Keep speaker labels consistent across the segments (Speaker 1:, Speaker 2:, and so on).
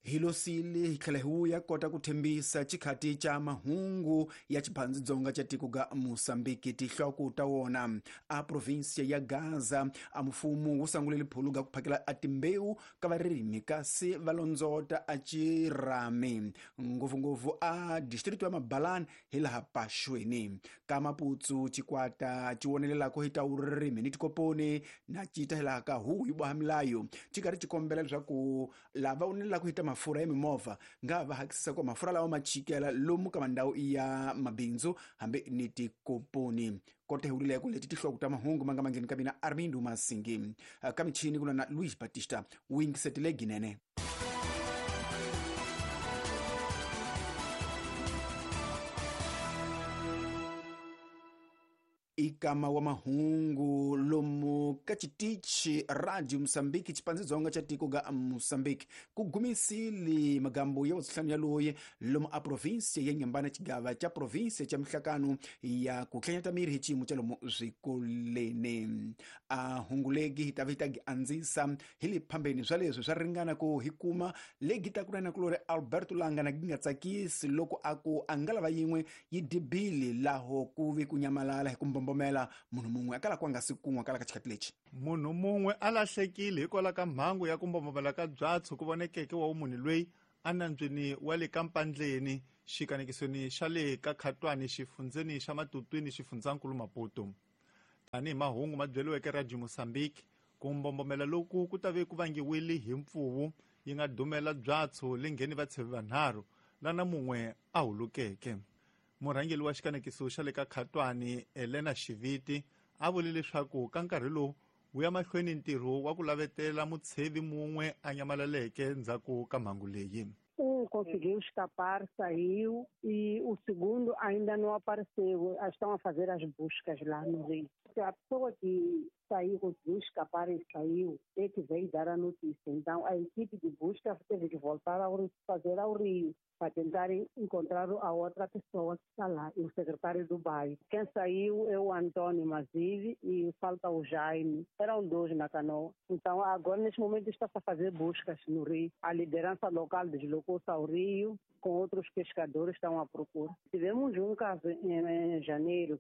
Speaker 1: Hi losile hi tlhela hi vuya kota ku tshembisa xikhati xa mahungu ya xiphandzidzonga xa tiko ga Mozambique tihloko ta wona a provinsia ya Gaza a mfumo wu sangulele phulu ga ku phakela a timbewu ka varimi kasi va londzota a chirami ngopfungopfu a distrito ya Mabalani hi laha Paxweni ka Maputsu xikwata xi vonelelaka hi ta vurimi ni tikoponi na cita hi laha ka huhu yi boha milayo xi karhi xi kombela leswaku lava vonelelaka hi ta mafurha ya mimovha nga va hakisisa ku mafurha lawa ma chikela lomu ka mandhawu ya mabindzu hambi ni tikoponi kota hi vulileko leti tihloko ta mahungu ma nga mangheni ka mina Armindo Masingi ka michini ku na Luis Batista wingisetile ginene. Ikama wa mahungu lomu ka xitichi Radio Mozambique xipandzidzonga xa tiko ga Mozambique ku gumisile magambo ya vusihlanu ya loyi lomu a provinsia ya Nyambana xigava xa provinsia xa mihlakano ya ku hlanyata miri hi xiyimo xa lomu swikoleni a hungulegi hi ta va hi ta gi andzisa hi le phambeni swa leswi swa ringana ku hi kuma legi ta ku na kulori Alberto Langa na gi nga tsakisi loko a ku a nga lava yin'we yi dibili laho ku vi ku nyamalala hi ku mbombomela munhu mun'we a kala ku a nga si kun'wa kala ka xikhati lexi.
Speaker 2: Munhu mun'we a lahlekile hikwalaho ka mhangu ya ku mbombomela ka byatso ku vonekeke wa vumunhu loyi a nambyeni wa le ka Mpandleni xikanekisweni xa le ka Khatwani xifundzeni xa Matutwini xifundzankulu Maputo. Tanihi mahungu ma byeriweke Radio Mozambique, ku mbombomela loku ku ta ve ku vangiwile hi mpfuvu yi nga dumela byatso le ngheni vatshevi vanharhu lana mun'we a hulukeke. Murhangeri wa xikanekiso xa le ka Khatwani Elena Xiviti a vule leswaku ka nkarhi lowu wu ya mahlweni ntirho wa ku lavetela mutshevi mun'we a nyamalaleke ndzhaku ka mhangu leyi.
Speaker 3: Conseguiu escapar, saiu, e o segundo ainda não apareceu. Estão a fazer as buscas lá no rio. A pessoa que saiu, conseguiu escapar e saiu, é que veio dar a notícia. Então a equipe de busca teve que voltar ao, fazer ao rio para tentar encontrar a outra pessoa que está lá, e o secretário do bairro. Quem saiu é o Antônio Mazive e falta o Jaime. Eram dois na canoa. Então agora, neste momento, está-se a fazer buscas no rio. A liderança local deslocou-se ao rio, com outros pescadores estão à procura. Tivemos um caso em janeiro,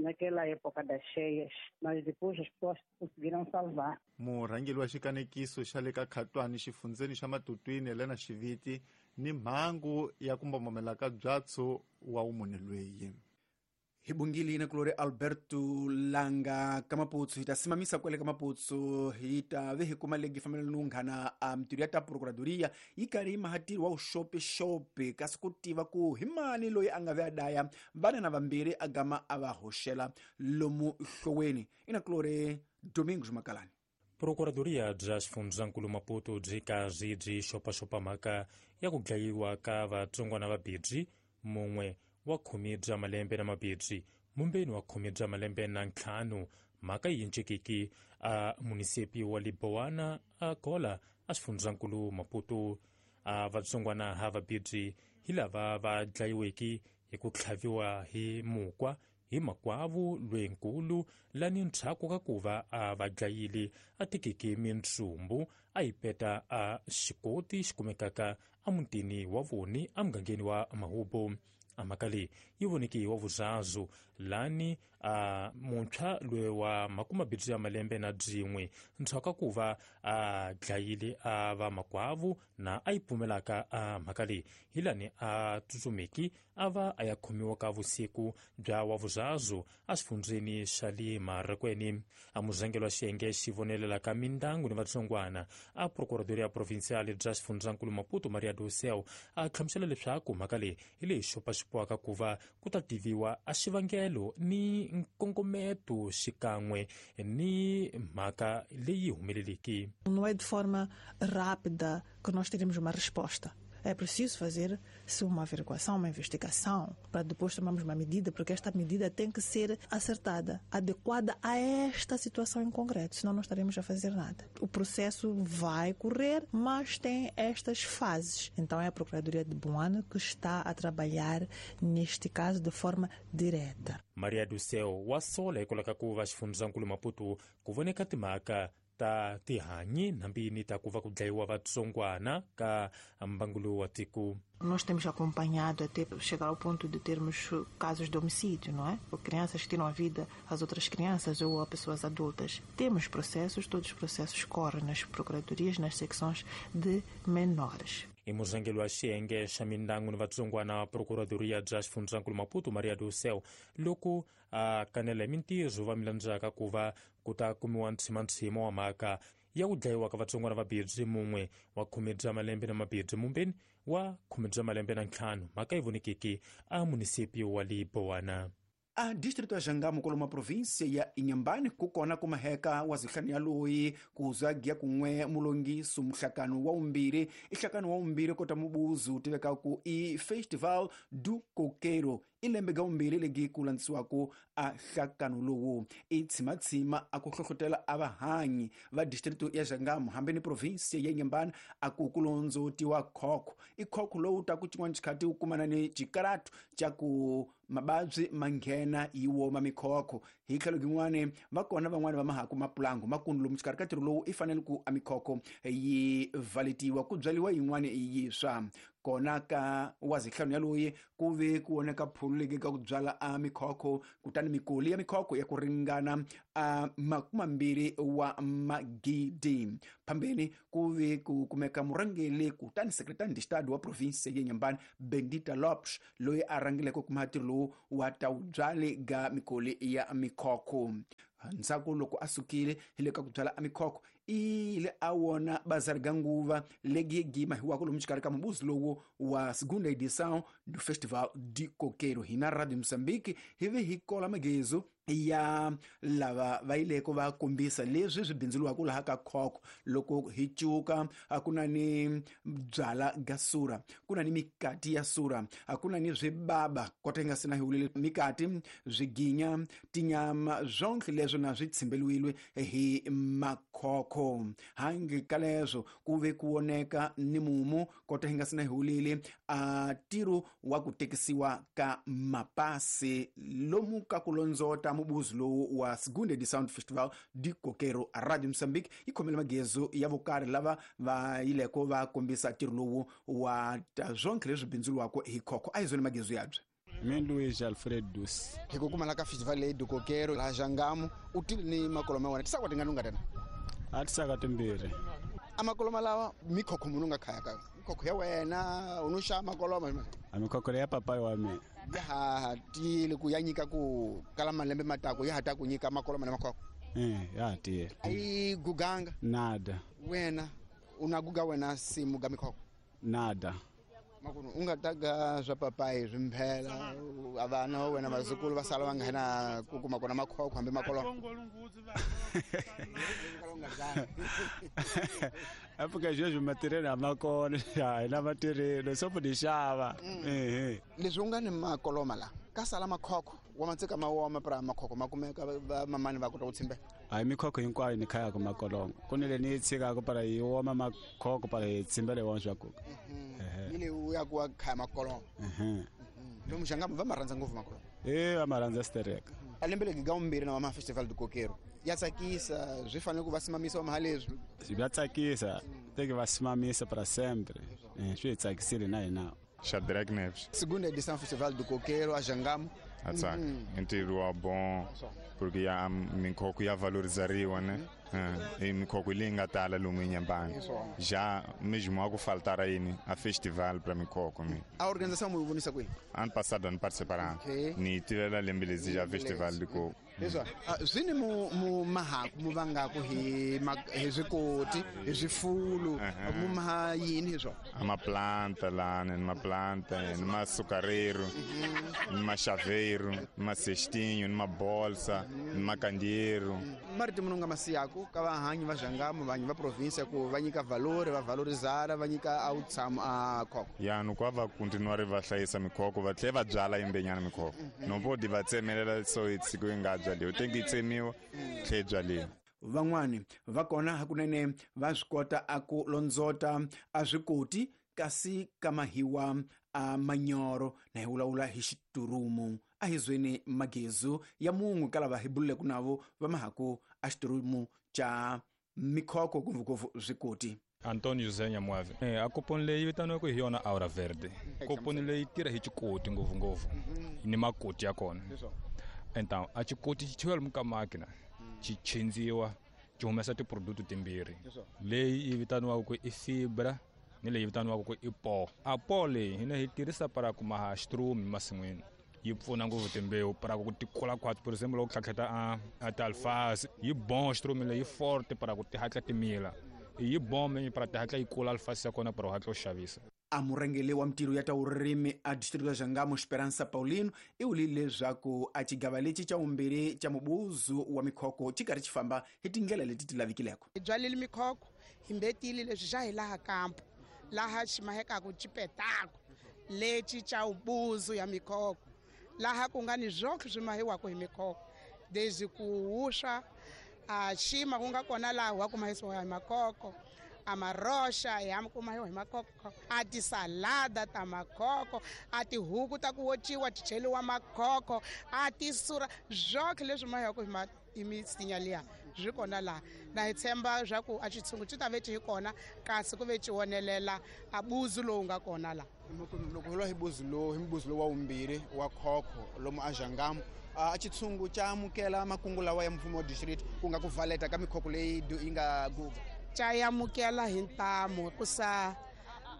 Speaker 3: naquela época das cheias, mas depois as pessoas conseguiram salvar.
Speaker 2: Murhangeri wa xikanekiso xa le ka Khatwani xifundzeni xa Matutwini Elena Xiviti ni mhangu ya ku mbombomela ka byatso wa vumunhu loyi.
Speaker 1: Hi bungile na kulori Alberto Langa ka Maputsu hi ta simamisa kwele ka Maputsu hi ta ve hi kuma legi fambelana ni unghana a mintirho ya ta procuradoria yi karhi yi mahatiri wa vuxopexopi kasi ku tiva ku hi mani loyi a nga ve a daya vana na vambirhi a gama a va hoxela lomu hloweni ina kulori Domingos Makalani.
Speaker 4: Procuradoria bya xifundzankulu Maputo byi karhi byi xopaxopa mhaka ya ku dlayiwa ka vatsongwana va bibyi mun'we wa 10 bya malembe na mabibyi mumbeni wa 10 bya malembe na 5 mhaka yi encekeki a munisipi wa Liboana a Gola a xifundzankulu Maputo. A vatsongwana ha vabibyi hi lava va dlayiweke hi ku tlhaviwa hi mukwa hi makwavu lwenkulu lani ndzhaku ka ku va a va dlayile a tekeke mintsumbu a yi peta a xikoti xi kumekaka emutini wa voni emugangeni wa Mahubo. A mhaka leyi yi voneke wa vuzazu lani a muntshwa loyi wa 20 ya malembe na byin'we ndzhaku ka ku va a dlayile a va makwavu na a yi pfumelaka a mhaka leyi hi lani a tsutsumeki a va a ya khomiwa ka vusiku bya wa vuzazu exifundzeni xa le Marikweni. A muzangelo wa xiyenge xi vonelelaka mindyangu ni vatsongwana a Procuradoria Provincial bya xifundzankulu Maputo Maria do Céu a hlamusela leswaku mhaka leyi hi leyi xopaxopiwaka ku va ku ta tiviwa a xivangelo ni nkongometo xikan'we ni mhaka leyi humeleleki.
Speaker 5: Não é de forma rápida que nós teremos uma resposta. É preciso fazer-se uma averiguação, uma investigação, para depois tomarmos uma medida, porque esta medida tem que ser acertada, adequada a esta situação em concreto, senão não estaremos a fazer nada. O processo vai correr, mas tem estas fases. Então é a Procuradoria de Boane que está a trabalhar neste caso de forma direta.
Speaker 4: Maria do Céu wa sola hikwalaho ka ku va xifundzankulu Maputo ku voneka timhaka Ta tihanyi nambini ta ku va ku dlayiwa vatsongwana ka mbangulo wa tiko.
Speaker 5: Nós temos acompanhado até chegar ao ponto de termos casos de homicídio, não é? Ou crianças que tiram a vida às outras crianças ou a pessoas adultas. Temos processos, todos os processos correm nas procuradorias, nas secções de menores.
Speaker 4: I murhangeri wa xiyenge xa mindyangu ni vatsongwana procuradoria bya xifundzankulu Maputo Maria do Céu loko a kanela hi mintirho va milandzaka ku va ku ta kumiwa ntshimantshima wa mhaka ya ku dlayiwa ka vatsongwana va bibyi mun'we wa 10 bya malembe na mabibyi mumbeni wa 10 bya malembe na 5 mhaka yi vonekeke a munisipi wa Libowana.
Speaker 1: A distrito ya Jangamo koloma província ya Inhambane kukona kumaheka wa zihlanu ya loyi kuza giya kun'we mulongiso muhlakano wa umbiri ihlakano wa umbiri kota mubuzu tiveka ku i Festival do Coqueiro i lembe ga umbiri legi ku landzisiwaku a hlakano lowu i tshimatshima a ku hlohlotela a vahanyi va distrito ya Jangamo hambi ni província ya Inhambane a ku kulondzotiwa khokho i khokho lowu ta ku xin'wana xikhati wu kumana ni xikaratu xa ku mababyi manghena yi woma mikhokho hi tlhelo rin'wani va kona van'wani va mahaku mapulango makundu lomu xikarhi ka ntirho lowu i fanele ku a mikhokho yi valetiwa ku byariwa yin'wani yiswa kona ka wa zihlanu ya loyi ku ve ku voneka phulu legi ka ku byala a mikhokho kutani mikoli ya mikhokho ya ku ringana a 20 wa magidi phambeni ku ve ku kumeka murhangeli kutani secretary de estado wa province ya Inhambane Bendita Lopes loyi a rhangileke kuma ntirho lowu wa ta wu byali ga mikoli ya mikhokho ndzhaku loko a sukile hi le ka ku byala a mikhokho ile a wona bazari ga nguva legi gima hiwako lomu xikarhi ka mubuzi lowu wa segunda edição do Festival de Coqueiro hina Radio Moçambique hi ve hi kola magezo ya lava va yileko va kombisa leswi swi bindzuriwaka laha ka khokho loko hi cuka a ku na ni byala ga sura ku na ni mikati ya sura a ku na ni swibaba kota yi nga sina hi wulile mikati swiginya tinyama zwonke leswo na swi tshimbeliwile hi makhokho hangi ka leswo ku ve ku voneka ni mumu kota yi nga sina hi wulile a ntirho wa ku tekisiwa ka mapasi lomu ka ku londzota mubuzi lowu wa segunda edição do Festival de Coqueiro. A Radio Moçambique yi khomele magezo ya vokarhi lava va yileko va kombisa ntirho lowu wa ta zwonke leswi bindzuriwaka hi khokho a hi zone magezo yabye.
Speaker 6: Mina Luiz Alfredo Dus.
Speaker 1: Hi ku kumala ka festival leyi do Coqueiro laha Jangamo u tile ni makoloma wena tisaka tingani u nga tena
Speaker 6: a tisaka timbirhi
Speaker 1: a makoloma lawa mikhokho munhu u nga khaya ka mikhokho ya wena u no xava makoloma
Speaker 6: a mikhokho ya papayi wa mina
Speaker 1: ya ha tiyile ku ya nyika ku kala malembe matako ya ha ta ku nyika makoloma na makhokho
Speaker 6: ya ha tiyile
Speaker 1: a yi guganga
Speaker 6: nada
Speaker 1: wena u na guga wena simu ga mikhokho
Speaker 6: nada
Speaker 1: makunu u nga ta ga swa papayi swi mphela a vana va wena vazukulu va sala va nghena ku kuma kona makhokho hambi makoloma
Speaker 6: afuka sweswi matirhelo a ma kona a hi na matirhelo swo ni xava
Speaker 1: leswi u nga ni makoloma la ka sala makhokho wa matseka ma woma pra makhokho ma kumeka va mamani va kota ku tshimbela
Speaker 6: a hi mikhokho hinkwayo ni khayaka makoloma ku ni le ni yi tshikaka para yi woma makhokho para hi tshimbela hi wona swa kuka
Speaker 1: ni le u ya ku wa khaya makoloma lomu Jangamo va ma rhandza ngopfu makoloma
Speaker 6: e va ma rhandza stereka
Speaker 1: a lembe legi ga umbirhi na wa ma Festival do Coqueiro ya tsakisa swi fanele ku va simamisa wa mahaleswi
Speaker 6: swi ya tsakisa teke va simamisa para sempre swi hi tsakisile na hina.
Speaker 7: Shadrach Neves.
Speaker 1: Segunda edição Festival do Coqueiro a Jangamo.
Speaker 7: Atsaka. Ntirho wa bom porque ya mikhokho ya valorizariwa né? E mikhokho leyi nga tala lomu Inhambane. Já mesmo a ku faltar aí a festival para mikhokho mi.
Speaker 1: A organização mu vonisa kwihi?
Speaker 7: Ano passado ano participaram. Ni tivela lembe lezi já Festival do Coco.
Speaker 1: Leswa swi ni mu mahaku mu vangaku hi swikoti hi swifulu mu maha yini hi swona
Speaker 7: a maplanta lana ni maplanta ni masucareiro ni machaveiro ni macestinho ni mabolsa ni macandeiro
Speaker 1: marito munhu nga masiyaku ka vahanyi va Jangamo vanyi va provinsia ku va nyika valori va valorizara va nyika a wutshamo a khokho
Speaker 7: ya ni ku va continuare va hlayisa mikhokho va tlhela va byala yimbenyana mikhokho no podi va tsemelela so siku yi nga byaliwa tengi yi tsemiwa tlhe yi byaliwa.
Speaker 1: Van'wani va kona hakunene va swi kota a ku londzota a swikoti kasi ka mahiwa a manyoro na hi vulavula hi xiturumu a hi zweni magezu ya mun'we ka lava hi bululeke navo va mahaku a xiturumu xa mikhoko ngopfungopfu swikoti.
Speaker 8: Antonio José Nyamuave. A koponi leyi vitaniwaka hi yona Aura Verde. Koponi leyi tirha hi xikoti ngopfungopfu ni makoti ya kona. Então a xikoti xi chewiwa lomu ka makina xi chindziwa xi humesa tiproduct timbirhi, leyi yi vitaniwaka ku i fibra ni leyi vitaniwaka ku i po. A po leyi hina hi tirhisa para ku maha xitrume masin'wini, yi pfuna ngopfu timbewu para ku ti kula khwatsi. Por example, loko tlhatlheta a ti-alfasi yi bon xitrume leyi forte para ku ti hatla ti mila, yi bome para ti hatla yi kula alfasi ya kona para u hatla u xavisa.
Speaker 1: A murhangeri wa mintirho ya ta vurimi a distrito ya Jangamo Esperança Paulino i vulile leswaku a xigava lexi xa vumbirhi xa mubuzu wa mikhoko xi karhi xi famba hi tindlela leti ti lavikileko.
Speaker 9: Hi byalile mikhoko hi mbetile leswi xa hi laha kampo laha xi mahekaku xipetako lexi xa ubuzu ya mikhoko laha ku nga ni zwoke swi mahiwaka hi mikhoko desde ku wuswa a xima ku nga kona laha wa ku mahisiwa hi makhoko, a maroxa ya ku mahiwa hi makhoko, a tisalada ta makhoko, a tihuku ta ku wociwa ti cheliwa makhoko, a tisura zwoke leswi mahiwaka hi misinya liya swi kona laha. Na hi tshemba swa ku a xitshungu xi ta ve xi hi kona kasi ku ve xi wonelela a buzu lowu nga kona laha.
Speaker 1: Loko hi lwa hi buzu lowu hi mbuzu lowu wa vumbirhi wa khokho lomu a Jangamo, a xitshungu xa amukela makungu lawa ya mfumo wa district ku nga ku valeta ka mikhoko leyi yi nga guga.
Speaker 9: Xa amukela hi ntamu hikusa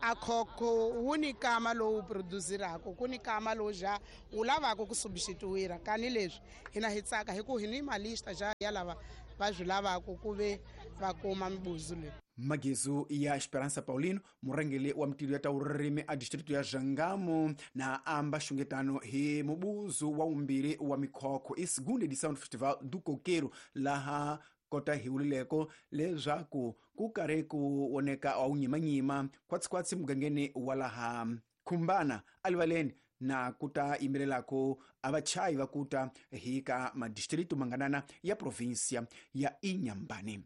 Speaker 9: a khokho wu ni kama lowu produsiraka, ku ni kama lowu ja wu lavaka ku substituira. Kani leswi hina hi tsaka hi ku hi ni malista ja ya lava va swi lavaka ku ve va kuma mibuzu leyi.
Speaker 1: Magezu ya Esperança Paulino, murhangeri wa mintirho ya ta vurimi a distrito ya Jangamo, na amba xungetano hi mubuzu wa vumbirhi wa mikhokho i segunda edição do Festival do Coqueiro laha kota hi vulileko leswaku ku karhi ku voneka a wu nyimanyima khwatsikhwatsi mugangeni wa laha Khumbana alivaleni na ku ta yimbelelako a vachayi va ku ta hi ka madistritu manganana ya provinsia ya Inhambane.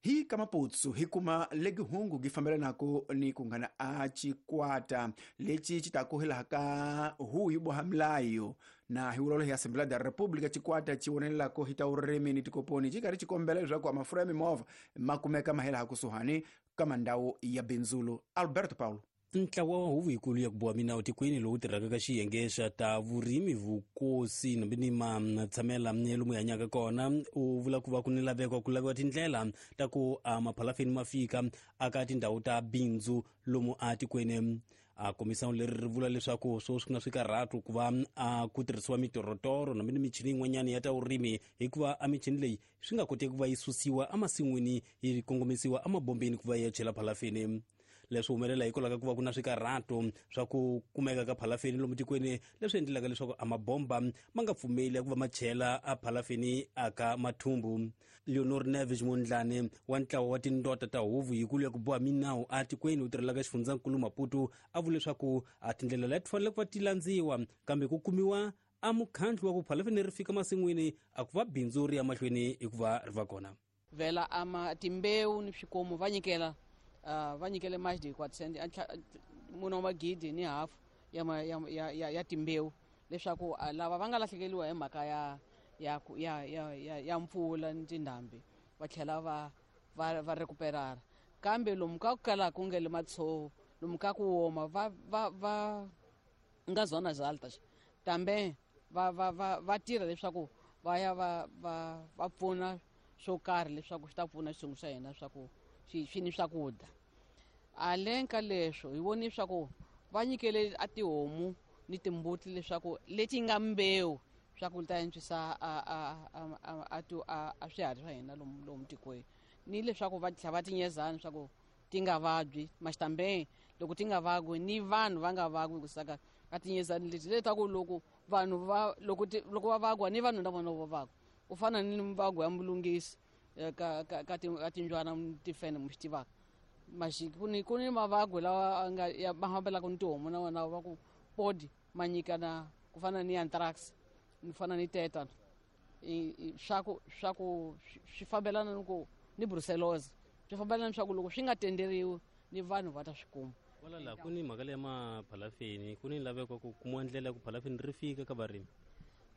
Speaker 1: Hi ka Maputsu hi kuma legi hungu gi fambelanako ni ku nghana a xikwata lexi xi ta ku hilaha ka huyu boha milayo na hi vulolo hi Assembleia da República. Xikwata xi vonelelako hi ta vurimi ni tikoponi xi karhi xi kombela leswaku a mafurha ya mimovha ma kumeka ma helaha kusuhani ka mandhawu ya bindzulu. Alberto Paulo.
Speaker 10: Ntlawa wa huvo yikulu ya ku boha minawu tikweni lowu tirhaka ka xiyenge xa ta vurimi vukosi nambi ni matshamela lomu hi hanyaka kona u vula ku va ku ni laveko ku laviwa tindlela ta ku a maphalafeni ma fika aka tindhawu ta bindzu lomu a tikweni. A komisawu leri ri vula leswaku sweswi ku na swikarhatu ku va a ku tirhisiwa mitorotoro nambi ni michini yin'wanyana ya ta vurimi, hikuva a michini leyi swi nga koteki ku va yi susiwa emasin'wini yi kongomisiwa emabombeni ku va yi ya chela phalafeni. Leswi humelela hikwalaho ka ku va ku na swikarhato swa ku kumeka ka phalafeni lomu tikweni, leswi endlelaka leswaku a mabomba ma nga pfumeli ku va ma chela a phalafeni aka mathumbu. Leonor Neves Mondlane wa ntlawa wa tindota ta huvo yikulu ya ku boha minawu a tikweni wu tirhelaka xifundzankulu Maputo a vula leswaku a tindlela leti fanele ku va ti landziwa kambe ku kumiwa a mukhandlu wa ku phalafeni ri fika masin'wini a ku va bindzu ri ya mahlweni hikuva ri va kona.
Speaker 11: Vhela ama timbewu ni swikomu va nyikela va nyikele mais de 400 mune wa magidi ni hafu ya timbewu leswaku lava va nga lahlekeriwa hi mhaka ya mpfula ni tindhambi va tlhela va recuperara. Kambe lomu ka ku kala ku nge le matshovo lomu ka ku woma va nga zona zalta tambe va tirha leswaku va ya va pfuna swo karhi leswaku swi ta pfuna xitshungu xa hina swa ku swi ni swakudya. Aleng ka leswo hi voni swa ku va nyikele a tihomu ni timbuti leswaku leti nga mbewu swa ku ta antswisa a swiharhi swa hina lomu tikweni, ni leswaku va tlhela va tinyezana swa ku ti nga vabyi maxitambe loko ti nga vagwi ni vanhu va nga vagwi ku saka a tinyezani leti letaku loko vanhu va loko va vagwa ni vanhu na vona va vagwa. U fana ni mvago ya mulungisi ka timbyana tifene mi swi tivaka maxiki ku ni mavagwe lawa nga ya ma fambelaka ni tihomu na wona va ku podi ma nyikana ku fana ni anthrax ni fana ni tetan swa ku swi fambelana ni ku ni brucellosis swi fambelana swa ku loko swi nga tenderiwi ni vanhu va ta swi kuma.
Speaker 10: Wala la ku ni mhaka leya maphalafeni ku ni laveko ku kumiwa ndlela ya ku phalafeni ri fika ka varimi.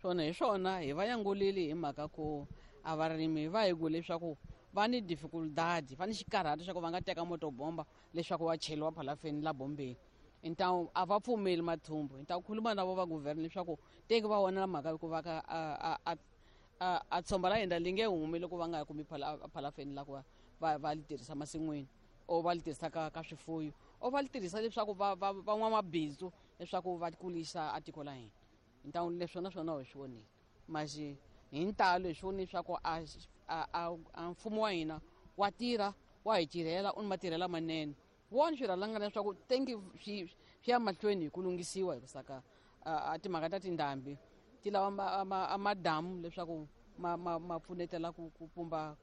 Speaker 11: Swona hi swona hi va yangulile hi mhaka ku a varimi va hi ku leswaku Va ni dificuldade, va ni xikarhato xa ku va nga teka motobomba leswaku wa cheliwa phalafeni la bombeni. Então a va pfumeli mathumbu. Então khuluma na vo va governor leswaku teki va vona mhaka ku va ka a tshomba la hina li nge humi loko va nga kumi phalafeni la ku va li tirhisa masin'wini or va li tirhisa ka swifuyo or va li tirhisa leswaku va van'wamabindzu leswaku va kulisa a tiko la hina. Então leswi na swona hi swi vonile, mas hi ntalo hi swi vonile leswaku a mfumo wa hina wa tirha, wa hi tirhela, u ni matirhela manene. Wona swirhalangana leswaku tengi swi ya mahlweni hi ku lunghisiwa hi saka a timhaka ta tindhambi ti lava madamu leswaku ma pfunetela ku pumba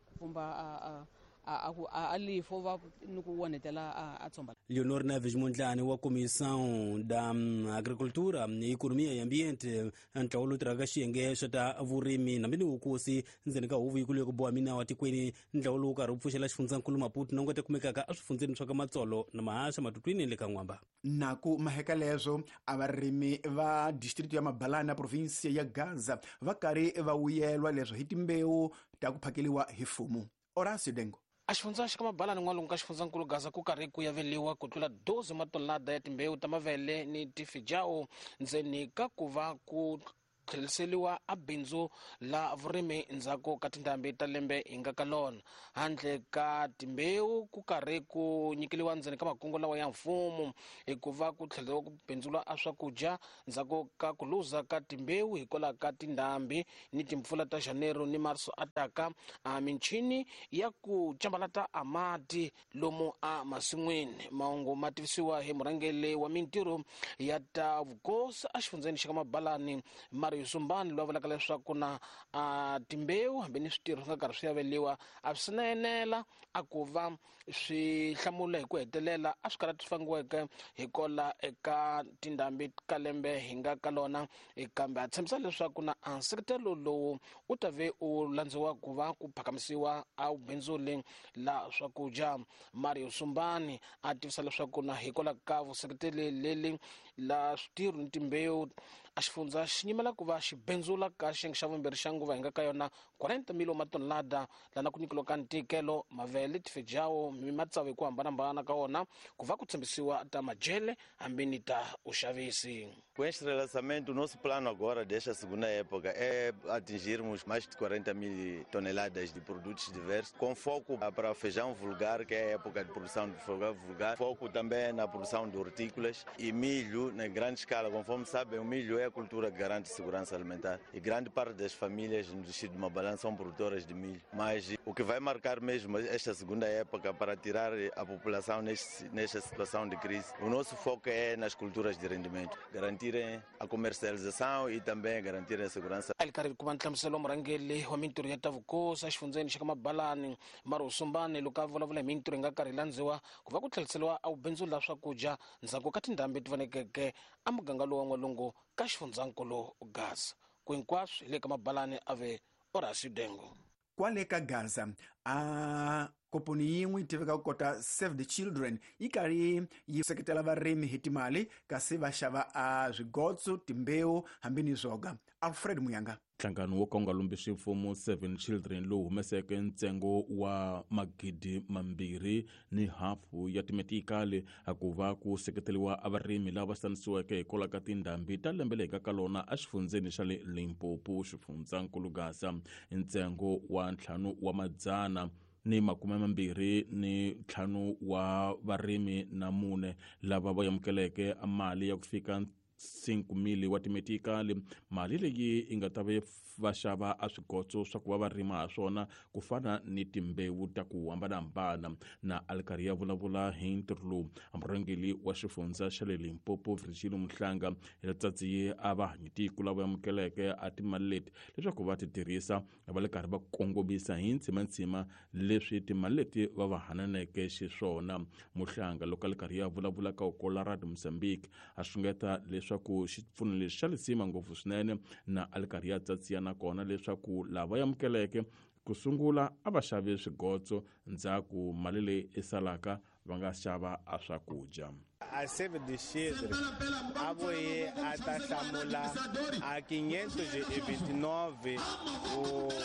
Speaker 11: a lifo va ni ku onhetela a tshomba.
Speaker 10: Leonor Neves Mondlane wa Comissão da Agricultura, Economia e Ambiente, ntlawa lowu tirhaka xiyenge xa ta vurimi hambi ni vukosi ndzeni ka huvo yikulu ya ku boha minawa tikweni. Ntlawa lowu karhi wu pfuxela xifundzankulu Maputo na ngwete kumekaka eswifundzeni swa ka Matsolo na Mahasha, Matutwini le ka N'wamba.
Speaker 1: Na ku maheka leswo a varimi va district ya Mabalana na provinsia ya Gaza va karhi va vuyelwa leswo hi timbewu ta ku phakeliwa hi mfumo. Horacio Dengo.
Speaker 12: A xifundza xa ka Mabalani n'walungu ka xifundzankulu Gaza ku karhi ku yaveliwa ku tlula 12 matonelada ya timbewu ta mavele ni tifijao ndzeni ka ku va ku tlheriseriwa a bindzu la vurimi ndzhaku ka tindhambi ta lembe hi nga ka lona. Handle ka timbewu ku karhi ku nyikeliwa ndzeni ka makungu lawa ya mfumo hikuva ku tlheleriwa ku bindzula a swakudya ndzhaku ka ku luza ka timbewu hikwalaho ka tindhambi ni timpfula ta Janeiro ni Marso ataka a michini ya ku cambalata a mati lomu a masin'wini. Mahungu ma tivisiwa hi murhangeri wa mintirho ya ta vukosi exifundzeni xa ka Mabalani Mario Sumbani, loyi a vulaka leswaku na timbewu hambi ni switirho swi nga karhi swi aveliwa a swi na enela a ku va swi hlamula hi ku hetelela a swi karhi swi fangiweke hikola eka tindhambi ka lembe hi nga ka lona, kambe a tshembisa leswaku na nseketelo lowu u ta ve u landziwa ku va ku phakamisiwa a wu bindzuli la swakudya. Mario Sumbani a tivisa leswaku na hikwalaho ka vuseketeli leli la switirho ni timbewu a xifundza xi nyimela ku va xi bindzula ka xiyenge xa vumbirhi xa nguva hi nga ka yona 40 mil matonelada lana ku nyikiwa ka ntikelo mavele tifejawo mi matsavu hi ku hambanahambana ka wona ku va ku tshembisiwa ta majele hambi ni ta uxavisi.
Speaker 13: Com este relançamento, o nosso plano agora desta segunda época é atingirmos mais de 40 mil toneladas de produtos diversos, com foco para feijão vulgar, que é a época de produção de feijão vulgar, foco também na produção de hortícolas e milho em grande escala. Conforme sabem, o milho é a cultura que garante segurança alimentar e grande parte das famílias no distrito de Mabalane são produtoras de milho. Mas o que vai marcar mesmo esta segunda época para tirar a população nesta situação de crise, o nosso foco é nas culturas de rendimento, garantir a comercialização e também garantir a segurança.
Speaker 12: Ali karhi kuma nhlamuselo murhangeri wa mintirho ya ta vukosi exifundzeni xa ka Mabalani Mario Sumbani loko a vulavula hi mintirho yi nga karhi landziwa ku va ku tlheriseriwa a wubindzu la swakudya ndzhaku ka tindhambi ti vonekeke a muganga lowu wa n'walungu ka xifundzankulu Gaza. Ku hinkwaswo hi le ka Mabalani a ve Horacio Dengo.
Speaker 1: Kwale ka Gaza a komponi yin'we yi tiveka ku kota Save the Children yi karhi yi seketela varimi hi timali kasi va xava a swigotso, timbewu hambi ni zwoga. Alfred Muyanga.
Speaker 14: Nhlangano wo ka wu nga lombisi mfumo Seven Children lowu humeseke ntsengo wa 2,500 ya timetikali a ku va ku seketeriwa a varimi lava xanisiweke hikwalaho ka tindhambi ta lembe leyi ka lona exifundzeni xa le Limpopo, xifundzankulu Gaza. Ntsengo wa 525 wa varimi na 4 lava va amukeleke mali ya ku fika 5,000 wa timetikali. Mali leyi yi nga ta va xava a swigotso swa ku va va rima ha swona ku fana ni timbewu ta ku hambanahambana. Na a ri karhi ya vulavula hi ntirho lowu, murhangeri wa xifundza xa le Limpopo Virgilio Mhlanga hi letsatsi a va hanyitiko lava amukeleke a timali leti leswaku va ti tirhisa va le karhi va kongomisa hi ntsimantsima leswi timali leti va va hananeke xiswona. Muhlanga loko a le karhi ya vulavula ka Okolarad Mozambique a xungeta leswaku xipfuno lexi xa lisima ngopfu swinene, na a le karhi ya tsatsiya nakona leswaku lava amukeleke ku sungula a va xavi swigotso, ndzhaku mali leyi i salaka va nga xava a swakudya.
Speaker 15: A Save the Children a vuye a ta hlamula a 529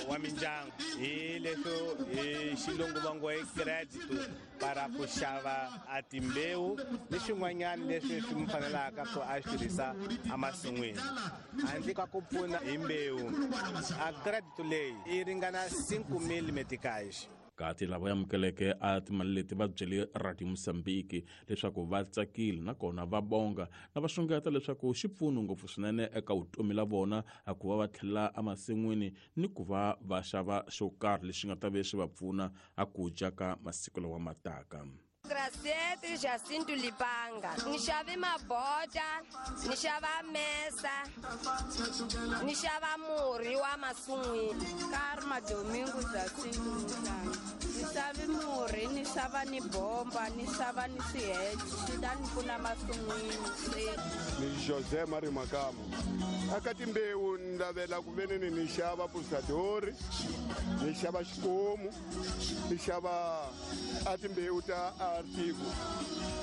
Speaker 15: wa mindyangu hi leswo hi xilungu va ngo i credit para ku xava a timbewu ni swin'wanyana leswi swi mi fanelaka ku a swi tirhisa emasin'wini handle ka ku pfuna hi mbewu. A credit leyi yi ringana 5,000 meticais.
Speaker 14: Kati lava amukeleke a timali leti va byele Radio Mozambique leswaku va tsakile nakona va bonga na va xungeta leswaku xi pfuno ngopfu swinene eka vutomi la vona a ku va va tlhela emasin'wini ni ku va va xava xo karhi lexi nga ta ve xi va pfuna a ku dya ka masiku lawa ma taka.
Speaker 16: Graciete Jacinto Lipanga. Ni xave mabota, ni xava mesa, ni xava murhi wa masun'wini.
Speaker 17: Karma Domingo Jacinto Lipanga. Ni xave murhi, ni xava ni bomba, ni xava ni swiheche, swi ta ni pfuna masun'wini.
Speaker 18: Ni José Mario Makamo. Aka timbewu ni lavela ku veneni ni xava pusadori, ni xava xikomu, ni xava a timbewu ta artigo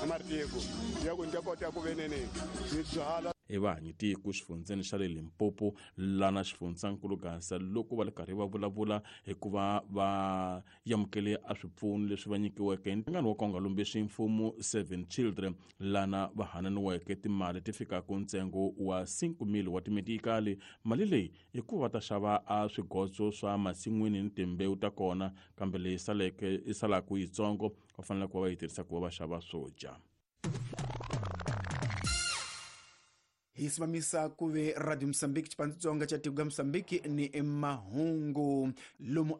Speaker 18: amartigo ya ku ni ta kota ku veneni ni byala.
Speaker 14: Evanyi tiko xifundzeni xa le Limpopo lana xifundzankulu Gaza loko va le karhi va vulavula hikuva va amukele a swipfuno leswi va nyikiweke hi nhlangano wa Konga Lombexi mfumo Seven Children lana va hananiweke timali ti fikaka ntsengo wa 5,000 wa timetikali. Mali leyi i ku va ta xava a swigotso swa masin'wini ni timbewu ta kona, kambe leyi saleke i salaka yitsongo va fanele ku va va yi tirhisa ku va va xava swo dya.
Speaker 1: Hi simamisa ku ve Radio Mozambique Xitsonga xa tiko ra Mozambique ni mahungu lomu.